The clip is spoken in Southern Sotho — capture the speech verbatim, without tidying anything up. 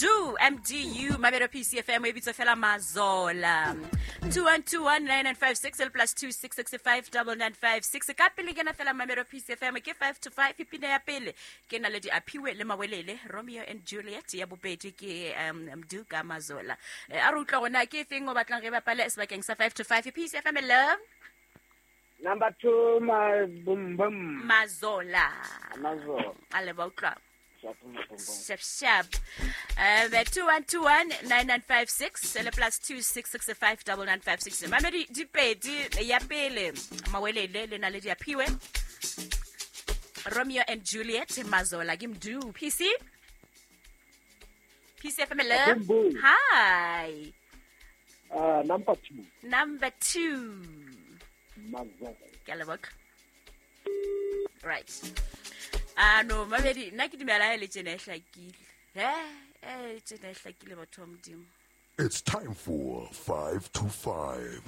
Mdu M D U Mamelo P C F M e bitswa fela Mazola. two one two one nine nine five six plus two six six five double nine five six. Ka pele kena fela Mamelo P C F M ke five to five pina ya pele ke na le di aphiwe le mawelele Romeo and Juliet ya bobedi ke um Mdu ka Mazola. A re utlwa gona ke feng o batlang re bapale sebakeng sa five to five P C F M love. Number two, my boom boom. Mazola. Mazola. A le ba utlwa. Shap shap. Um, two one two one nine nine five six le plus two six six five double nine five six. Mamedi di pedi ya pele mawelele le na le di aphiwe. Romeo and Juliet Mazola ke Mdu P C P C F M love. Hi. Uh, number two. Number two. Mazola. Ke a leboga. Right. Ah no, mamedi nna ke dumela le tsena e hlakile. Eh, eh tsena e hlakile batho ba Modimo. It's time for five to five.